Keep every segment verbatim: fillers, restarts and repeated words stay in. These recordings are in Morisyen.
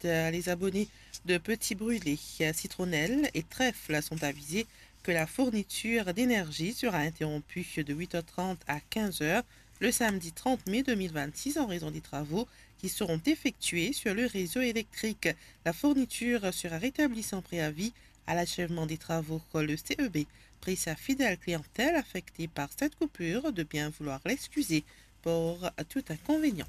Les abonnés de Petit Brûlé, Citronnelle et Trèfle sont avisés que la fourniture d'énergie sera interrompue de huit heures trente à quinze heures le samedi trente mai deux mille vingt-six en raison des travaux qui seront effectués sur le réseau électrique. La fourniture sera rétablie sans préavis à l'achèvement des travaux. Le C E B prie sa fidèle clientèle affectée par cette coupure de bien vouloir l'excuser pour tout inconvénient.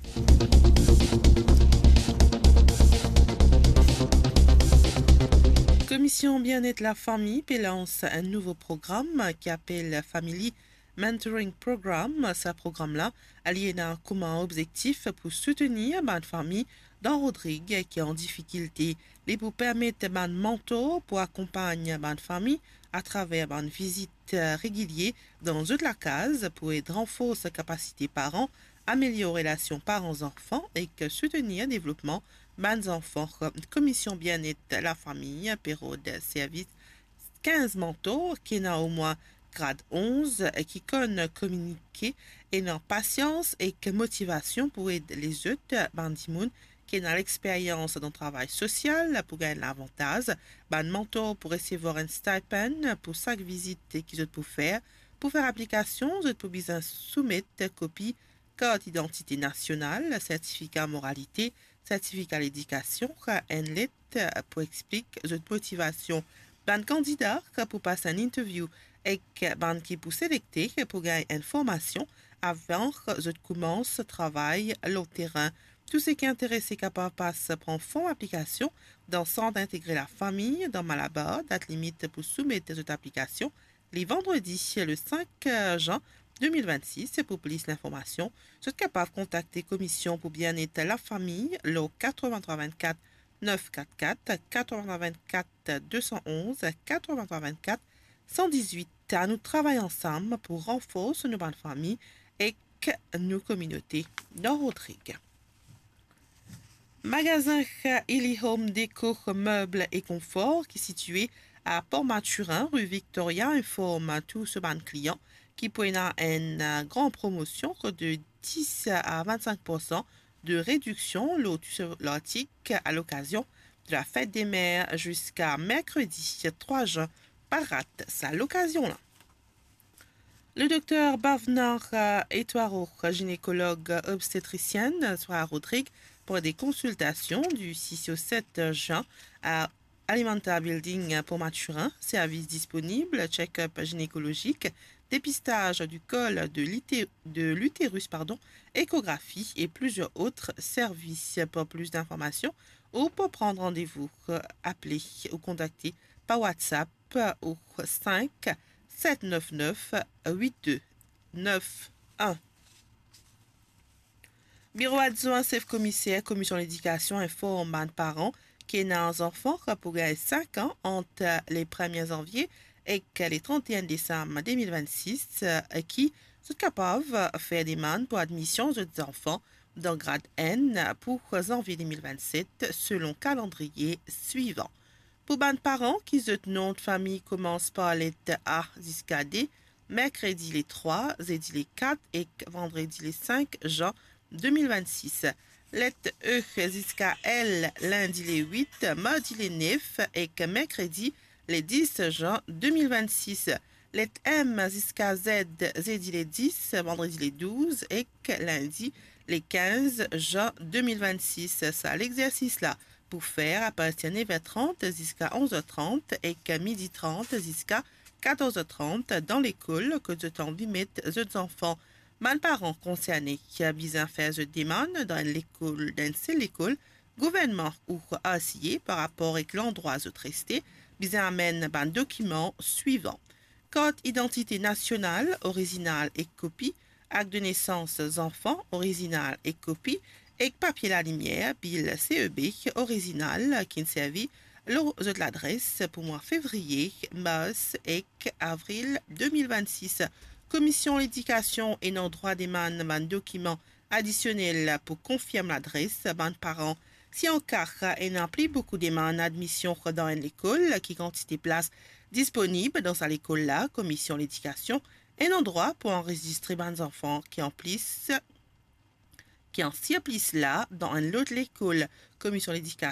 Komision Bienet Lafami pe lans enn nouvo program ki apel Family Mentoring Program. Sa program la, li ena kouma obzektif pou soutenir bann fami dan Rodrig ki an difikilte. Li pou permet bann mantor pou akonpagn bann fami atraver bann vizit, eh, regilie dan zot lakaz pou ed ranfors kapasite paran, amelior relasion paran-zanfan ek soutenir devlopman bann zanfan. Komision Bienet Lafami pe rod servis kinz mantor ki ena omwin grad onz, ki konn kominike, ena pasians ek motivasion pou ed lezot bann dimoun ki ena lexperyans dan travay sosial pou gagn lavantaz. Bann mantor pou resevwar enn stipend pou sak vizit ki zot pou fer. Pou fer aplikasion, zot pou bizin soumet kopi kart idantite nasional, sertifika moralite, sertifika ledikasion, enn let pou explik zot motivasion. Bann kandida pou pas enn interview ek bann ki pou selekte pou gagn enn formasion avan zot koumans travay lor terin. Tou seki interese kapav pas pran fom aplikasion dan Sant Integre Lafami, dan Malabar. Dat limit pou soumet zot aplikasion, li vandredi, le cinq jan deux mille vingt-six. Pou plis linformasion, zot kapav kontakte Komision pou Bienet Lafami lor quatre-vingt-trois vingt-quatre neuf quatre quatre, quatre-vingt-trois vingt-quatre deux cent onze, quatre-vingt-trois vingt-quatre cent dix-huit. Anou travay ansam pou ranfors nou bann fami ek nou kominote dan Rodrig. Magazin Illy Home Déco Meubles et Confort, ki sitie a Port Mathurin, rue Victoria, inform tou so bann klian ki pou ena enn, eh, gran promosion de dix à vingt-cinq pour cent de rediksion lor tou so lartik a lokazion de la Fête des Mères ziska merkredi trois jan. Pa rat sa lokazion la. Le docteur Bhavna, euh, Etwaro, gynécologue obstétricienne, sera à Rodrig pour des consultations du six au sept juin à Alimenta Building, Port Mathurin. Service disponible, check-up gynécologique, dépistage du col de l'uté-, de l'utérus, pardon, échographie et plusieurs autres services. Pour plus d'informations ou pour prendre rendez-vous, euh, appelez ou contactez par WhatsApp au cinq sept neuf neuf huit deux neuf un. Biro adwin sef komiser Komision Ledikasion inform bann paran ki ena zanfan pou gagn cinq an ant le premier janvie ek le trente et un décembre deux mille vingt-six, ki zot kapav fer demann pou admision zot zanfan dan grad enn pou janvie deux mille vingt-sept, selon kalandriye swivan. Pou bann paran ki zot nom de fami koumans par let A ziska D, merkredi le trwa, zedi le kat ek vandredi le sink jan deux mille vingt-six. Let E ziska L, lindi le wit, mardi le nef ek merkredi le dis jan deux mille vingt-six. Let M ziska Z, zedi le dis, vandredi le douz ek lindi le kinz jan deux mille vingt-six. Sa lexersis la pou fer apartir nef er trant ziska onz er trant ek midi trant ziska katorz er trant dan lekol kot zot anvi met zot zanfan. Bann paran konserne ki bizin fer zot demann dan enn lekol, dan enn sel lekol, gouvernman ou R C A par rapor ek landrwa zot reste, bizin amenn bann dokiman swivan: kart idantite nasional, orizinal ek kopi, akt de nesans zanfan, orizinal ek kopi, ek papie lalimier, bil C E B, orizinal, ki'nn servi lor zot ladres pou mwa fevriye, mars ek avril deux mille vingt-six. Komision Ledikasion ena drwa demann bann dokiman adisionel pou konfirm ladres bann paran. Si an ka ena pli boukou demann admision dan enn lekol, ki kantite plas disponib dan sa lekol la, Komision Ledikasion ena drwa pou anrezistre bann zanfan ki an plis, ki an sirplis la dan enn lot lekol. Komision Ledikasion